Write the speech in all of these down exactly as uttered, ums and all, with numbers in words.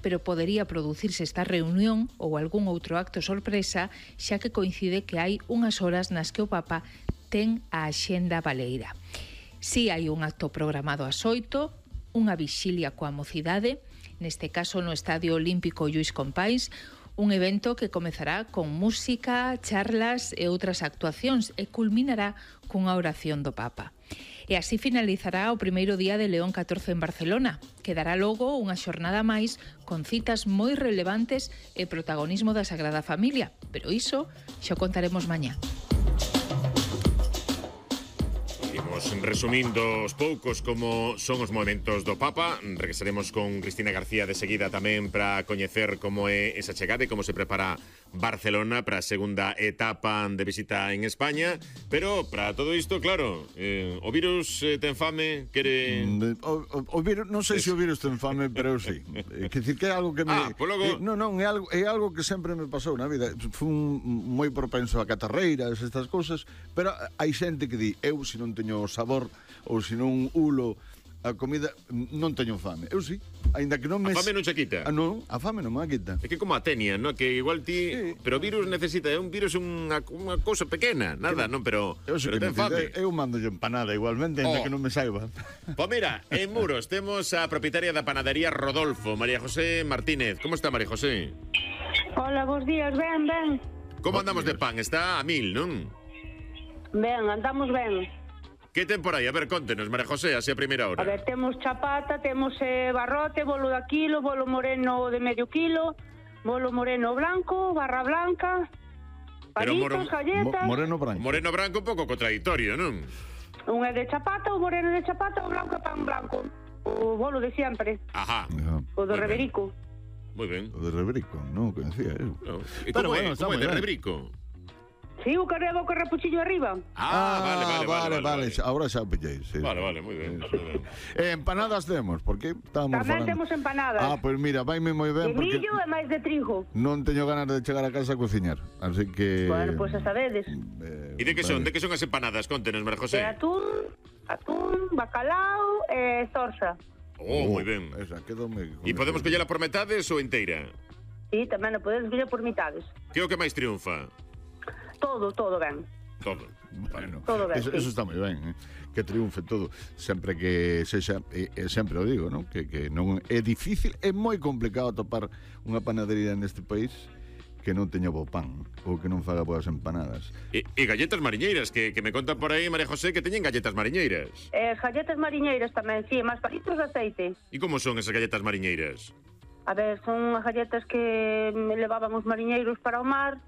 pero podería producirse esta reunión ou algún outro acto sorpresa, xa que coincide que hai unhas horas nas que o Papa ten a axenda baleira. Si hai un acto programado ás oito, unha vixilia coa mocidade, neste caso no Estadio Olímpico Lluís Companys, un evento que comezará con música, charlas e outras actuacións e culminará cunha oración do Papa. E así finalizará o primeiro día de León catorce en Barcelona. Quedará logo unha xornada máis con citas moi relevantes e protagonismo da Sagrada Familia. Pero iso xa contaremos mañá. Imos resumindo os poucos como son os movementos do Papa. Regresaremos con Cristina García de seguida tamén para coñecer como é esa chegada e como se prepara Barcelona para a segunda etapa de visita en España. Pero para todo isto, claro, eh, o virus eh, ten fame, quere... O, o, o virus, non sei se o virus ten fame, pero sí. É dicir que é algo que me... Ah, pues logo... Eh, non, non, é algo, é algo que sempre me pasou na vida. Fun moi propenso a catarreiras, estas cousas, pero hai xente que di, eu se non teño sabor ou se non ulo a comida, non teño fame. Eu sí, aínda que non me... A fame non che quita? Ah, non, a fame non me quita. É que como a tenia, no? Que igual ti... Sí. Pero o virus necesita, é un virus unha, unha cousa pequena, nada, non, pero, eu pero ten fame. Eu mando yo empanada igualmente, aínda Oh. que non me saiba. Pois mira, en Muros temos a propietaria da panadería Rodolfo, María José Martínez. Como está, María José? Hola, bons días, ben, ben. Como andamos de pan? Está a mil, non? Ben, andamos ben. Que ten por aí? A ver, contenos, María José, así a primeira hora. A ver, temos chapata, temos eh, barrote, bolo da kilo, bolo moreno de medio kilo, bolo moreno blanco, barra blanca, Pero palitos, moro- galletas. Mo, moreno branco. Moreno branco un pouco contradictorio, non? Un é de chapata, o moreno de chapata, o blanco é pan blanco. O bolo de siempre, Ajá. Ajá. o do Moi ben. Reberico. Moi ben. O de Rebrico, non o conocía eu. No. E Pero como bueno, é? está Como é moi de ben. rebrico? Sí, o carrego co repuchillo arriba. Ah, vale, vale, vale. vale, vale. Ahora xa o pillei, sí. Vale, vale, moi ben. moi ben. Eh, empanadas temos, porque estábamos Tamén falando. temos empanadas. Ah, pois pues mira, vaime moi De ben porque millo e máis de trigo. non teño ganas de chegar a casa a cociñar, así que Bueno, pois pues, a sabedes. eh, E de que son? vale. De que son as empanadas? Contenos, María De José. atún, atún, bacalao e zorza. Oh, moi ben. Esa, quedome. E podemos collela por metades ou inteira? Sí, tamén o podedes coller por mitades. Que é o que máis triunfa? Todo, todo ben. Todo. Bueno, Todo ben, eso, sí. eso está moi ben, eh? Que triunfe todo, sempre que sexa, e, e sempre o digo, non? Que, que non é difícil, é moi complicado atopar unha panadería neste país que non teña bo pan ou que non faga boas empanadas. E, e galletas mariñeiras, que, que me contan por aí, María José, que teñen galletas mariñeiras. E as galletas mariñeiras tamén, sí, máis palitos de aceite. E como son esas galletas mariñeiras? A ver, son as galletas que me levaban os mariñeiros para o mar,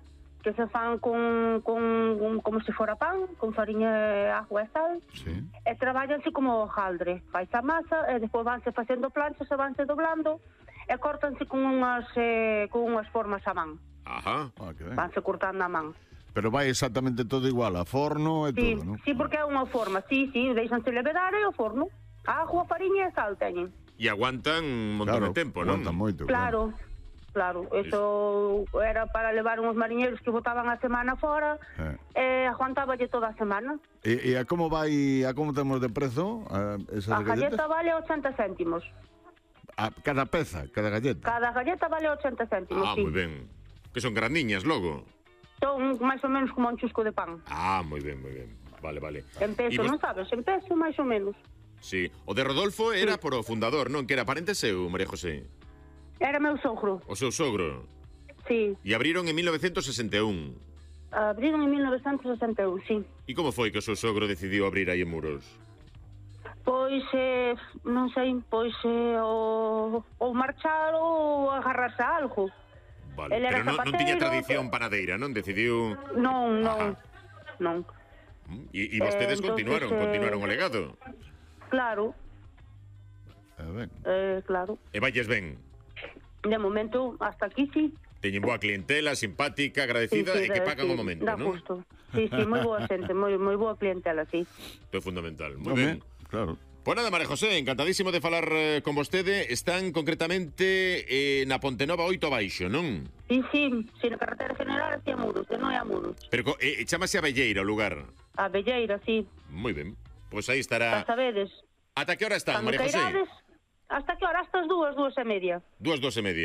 que se fan con, con, con como se fora pan, con fariña, agua e sal, Sí. e traballanse como hojaldre. Faise a masa, e despois vanse facendo planchas e vanse doblando, e córtanse con unhas, eh, con unhas formas a man. Ajá. Ah, que ben. Vanse cortando a man. Pero vai exactamente todo igual, a forno e Sí, todo, non? sí, porque é unha forma, sí, sí, deixanse levedar e o forno. Agua, fariña e sal teñen. E aguantan un montón Claro, de tempo, non? aguanta moito. Claro, claro, eso era para levar uns mariñeiros que botaban a semana fora Eh. e aguantáballe toda a semana. E, e a como vai, a como temos de prezo a esas A galletas? galleta vale ochenta céntimos. A cada peza, cada galleta. Cada galleta vale ochenta céntimos, Ah, sí. moi ben. Que son grandiñas logo. Son máis ou menos como un chusco de pan. Ah, moi ben, moi ben. Vale, vale. En E peso, vos- non sabes? En peso, máis ou menos. Sí. O de Rodolfo era por o fundador, non? Que era parente seu, María José. Era meu sogro, O seu sogro. sí. E abriron en mil novecientos sesenta e un. Abriron en mil novecientos sesenta e un, sí. E como foi que o seu sogro decidiu abrir aí en Muros? Pois, eh, non sei, pois eh, o, ou marchar ou agarrarse a algo. Vale, El era pero non, non tiña zapatero, tradición panadeira, non? Decidiu... Non, Ajá. non, non. E, e vostedes Eh, entonces, continuaron, eh, continuaron o legado. Claro, A ver. eh, claro. E valles ben. De momento, hasta aquí sí. Teñen boa clientela, simpática, agradecida sí, sí, e que de- pagan sí, o momento, dá non? gusto. Sí, sí, moi boa xente, moi, moi boa clientela, sí. Isto é fundamental. Moi Home, ben. claro. Pois nada, María José, encantadísimo de falar eh, con vostede. Están concretamente eh, na Pontenova oito abaixo, non? Sí, sí, sí, na carretera general hacia Muros, que non é a Muros. Pero co- eh, chamase a Belleira o lugar. A Belleira, sí. Moi ben. Pois aí Xa estará. sabedes. Ata que hora están, Cando María José? cairades, hasta que hora? Hasta as dúas, dúas e media. Dúas, dos e media.